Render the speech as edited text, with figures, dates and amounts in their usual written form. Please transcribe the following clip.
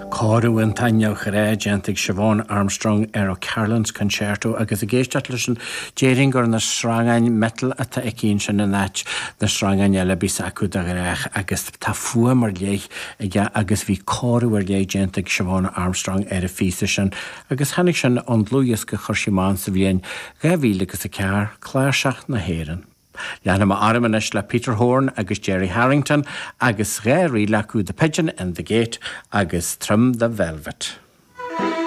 Cóiriú iontach neamhghnách déanta ag Siobhán Armstrong ar O'Carolan's Concerto agus ag éisteacht leis sin déarfainn gur na sreangáin miotail atá aici ansin in áit na sreangáin eile a bíos acu de ghnách agus tá fuaim ar leith aige agus bhí cóiriú ar leith déanta ag Siobhán Armstrong ar an phíosa sin agus tháinig sin ón dlúthdhiosca a chuir sí amach sa bhliain 2004, Cláirseach na hÉireann. Leanfaidh mé orm anois le Peter Horne agus Gerry Harrington agus 2 ríl acu The Pigeon in the Gate agus Trim the Velvet.